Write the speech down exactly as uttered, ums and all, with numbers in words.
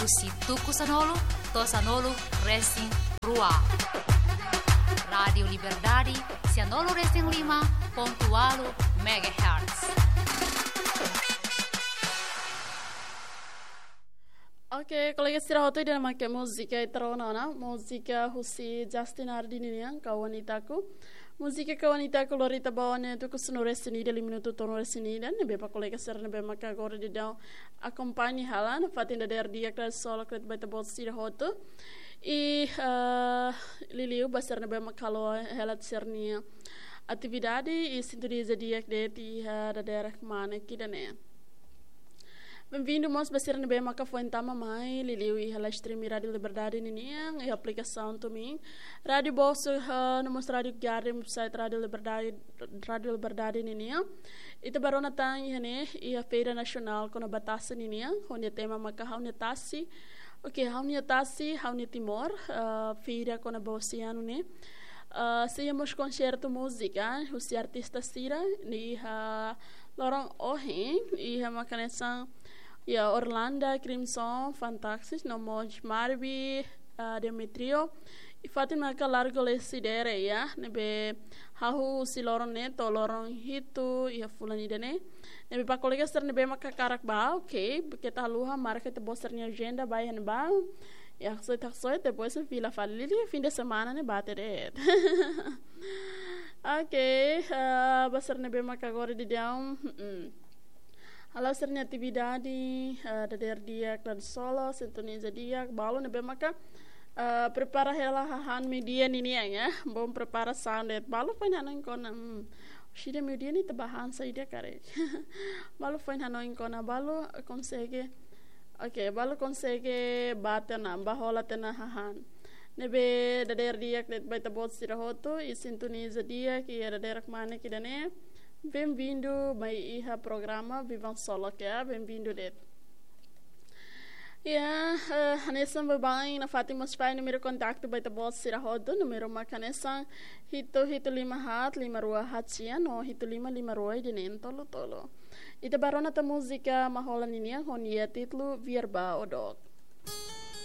Husi tuku sanulu to'o sanulu resin rua. Rádiu Liberdade, sanulu resin lima pontu ualu megahertz. Oke, kolega sira hotu, ida-ne'e mak múzika ita rona ona, múzika husi Justin Ardi ninian, Kau Wanitaku. Múzika Kau Wanitaku lori ita ba ona tuku sanulu resin ida, lima minutu tolu resin ida, ne'ebé ba kolega sira ne'ebé maka agora daudaun akompaña hela nafatin dadeer di'ak, Rádiu Solo, kret ba ita-boot sira hotu. I, eh, liuliu ba sira ne'ebé maka halo hela sira-nia atividade, i sintoniza di'ak de'it iha dadeer kmanek ida-ne'e. Benvindu mós ba sira ne'ebé maka foin tama mai, liuliu iha live stream Rádiu Liberdade ninian, iha aplikasaun TuneIn. Rádiu Bosuk, eh, no mós Rádiu Garden, website Rádiu Liberdade, Rádiu Liberdade ninian. Ita bá rona tan iha ne'e, iha Feira Nasionál kona-ba Tasi ninian, ha'u-nia tema maka Ha'u-nia Tasi. Oke, Ha'u-nia Tasi, Ha'u-nia Timor, eh, feira kona-ba oseanu ne'e. Eh, sei iha mós konsertu múzika husi artista sira, ne'e iha loron ohin, iha mak hanesan, iha Orlanda, Crimson, Fantaxis, no mós Marby, ah, Demetrio. I fatin maka Largo Lecidere, ya, ne'ebé hahú husi loron ne'e to'o loron hitu iha fulan ida-ne'e. Ne'ebé ba kolega sira ne'ebé maka hakarak bá, oke, keta haluha, marka ita-boot sira-nia ajenda, bá iha ne'ebá. Ya, haksoit, haksoit, depois fila fali, liuliu fim de semana ne'e bate de'it. Oke, ah, ba sira ne'ebé maka agora daudaun, mm, halo sira-nia atividade, ah, dadeer di'ak, Rádiu Solo, sintoniza di'ak, balu ne'ebé maka, ah, prepara hela hahán meiudia ninian, ya. Bom preparasaun de'it, balu foin hanoin kona, hmm, orsida meiudia ne'e ita bá han saida karik. Balu foin hanoin kona, balu konsege, oke, balu konsege bá tiha ona, bá hola tiha ona hahán. Ne'ebé dadeer di'ak de'it ba ita-boot sira hotu, i sintoniza di'ak iha dadeer kmanek ida-ne'e. Benvindu mai iha programa Vivan Solo, ya, benvindu de'it. Ya, eh, hanesan baibain nafatin mós fó númeru kontaktu ba ita-boot sira hotu, númeru mak hanesan hitu hitu lima haat lima rua haat sia no hitu lima lima rua ida-ne'e tolu tolu. Ita bá rona tan múzika Mahola ninian ho nia títulu Vierba Odok.